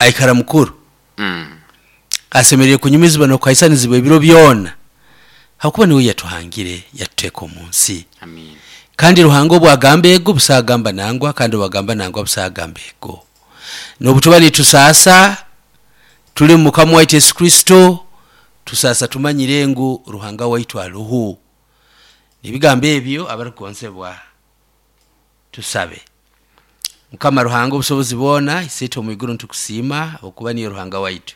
Aikara mukuru. Asemeriire kunyumizibwa n'okuhaisanizibwa ebiro byona, habwokuba nuwe yatuhangire yatuteeka omu nsi. Amiina. Kandi Ruhanga obu agamba ego, busaho agamba nangwa, kandi obu agamba nangwa, busaho agamba ego. N'obu tuba nitusaasa, tuli mu Mukama waitu Yesu Kristo, tusaasa tumanyire ngu Ruhanga waitu aroho. Ebigambo ebyo abarukugonzebwa, tusabe. Mukama Ruhanga obusobozi bwona, Isiitwe omu iguru nitukusiima habwokuba niiwe Ruhanga waitu.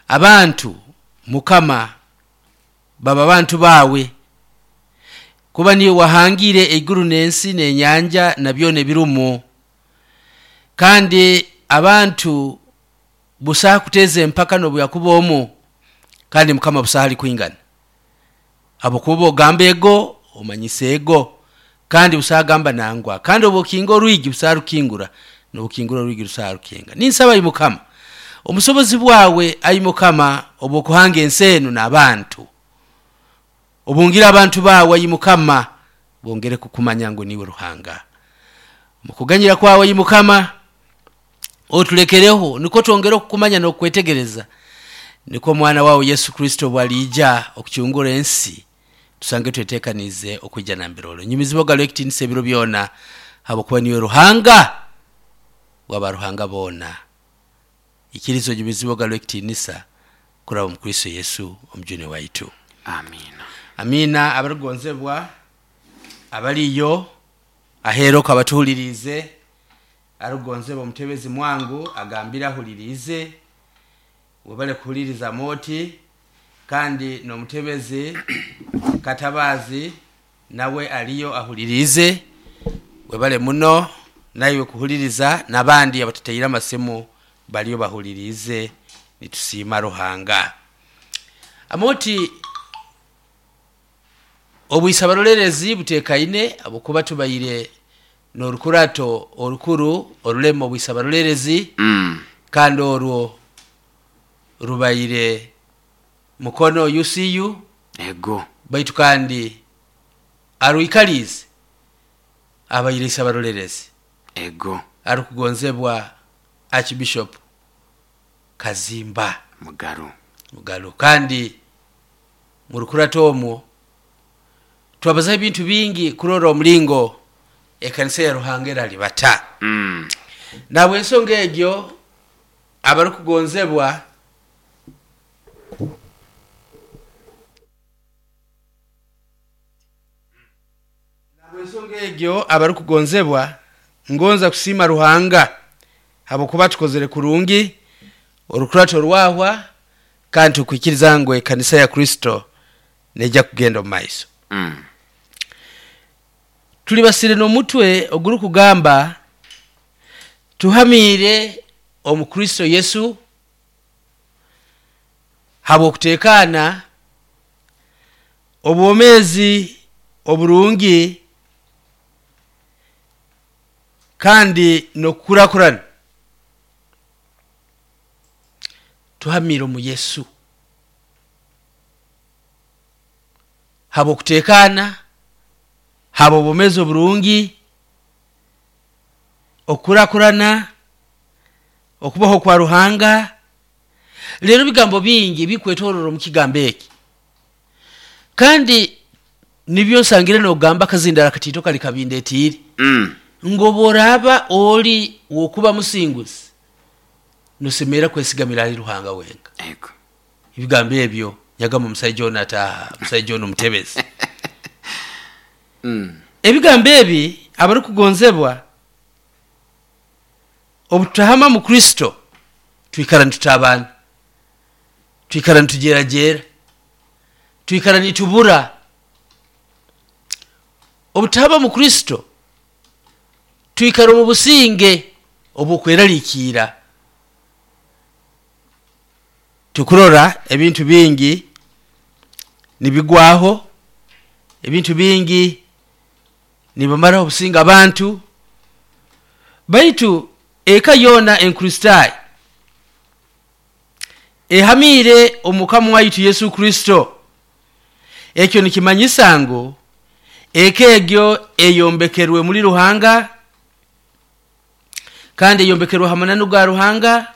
Abantu Mukama baba bantu baawe, kuba niiwe wahangire eiguru n'ensi n'enyanja na byona ebirumu. Kandi abantu busaho kuteeza empaka n'obu yakuba omu, kandi Mukama busaho alikwingana. Habwokuba obu ogamba ego, omanyisa ego, kandi busaho agamba nangwa. Kandi obu okinga orwigi, busaho arukingura, n'obu okingura orwigi, busaho arukinga. Ninsaba ai Mukama, obusobozi bwawe ai Mukama obw'okuhanga ensi enu n'abantu, obungire abantu baawe ai Mukama, bongere kukumanya ngu niiwe Ruhanga. Omu kuganyira kwawe ai Mukama, otulekereho nukwo twongere okukumanya n'okukwetegereza, nukwo omwana waawe Yesu Kristo obu aliija okucungura ensi, tusange tweteekaniize okwija nambere oli. Onyumizibwe ogarurwe ekitiinisa ebiro byona, habwokuba niiwe Ruhanga w'abaruhanga boona. Ikiriza onyumizibwe ogarurwe ekitiinisa kuraba omu Kristo Yesu Omujuni waitu. Amiina. Amiina. Abarukugonzebwa abaliyo aheeru oku abatuhuliriize, arukugonzebwa omutebezi mwangu agambire ahuliriize, webale kuhuliriza Amooti, kandi n'omutebezi Katabaazi nawe aliyo ahuliriize, webale muno naiwe kuhuliriza, n'abandi abatutaire amasimu baliyo bahuliriize, nitusiima Ruhanga. Amooti, obwisa abaroleerezi buteekaine habwokuba tubaire n'orukurato orukuru orulema obwisa abaroleerezi kandi orwo rubaire Mukono UCU. Ego. Baitu kandi arwikaliize abaire Isabarolerezi. Ego. Arukugonzebwa Archbishop Kazimba Mugaru. Mugaru. Kandi murukurato omwo twabazaho ebintu bingi kurora omulingo ekanisa ya Ruhanga eralibata. Nahabw'ensonga egyo abarukugonzebwa Nahabw'ensonga egyo abarukugonzebwa, ngonza kusiima Ruhanga habwokuba tukozere kurungi, orukurato rwahwa, kandi tukwikiriza ngu ekanisa ya Kristo neija kugenda omu maiso. Tulibasire n'omutwe ogurukugamba Tuhamiire omu Kristo Yesu habw'okutekaana, obwomeezi oburungi, kandi n'okukurakurana. Tuhamiire omu Yesu habw'okutekaana, habw'obwomeezi oburungi, okukurakurana, okubaho kwa Ruhanga. Rero ebigambo bingi ebikwetorora omu kigambo eki, kandi nibyo nsangire nogamba akazindaro akatiito kali kabindetiire, ngu obu oraaba oli w'okuba musinguzi, nosemerra kwesigamira hali Ruhanga wenka. Ego. Ebigambo ebyo nyagamba omusaija onu ataaha, omusaija onu omutebezi. Ebigambo ebi abarukugonzebwa, obu tutahama mu Kristo, twikara nitutabana, twikara nitujeerajeera, twikara nitubura. Obu tutahama mu Kristo, twikara omu businge obw'okweraliikiira. Tukurora ebintu bingi nibigwaho, ebintu bingi nibamaraho obusinge abantu, baitu eka yoona Enkristaayo ehamiire omu Mukama waitu Yesu Kristo. Ekyo nikimanyisa ngu eka egyo eyombekerwe muli Ruhanga. Kandi eyombekerwe ha mananu ga Ruhanga.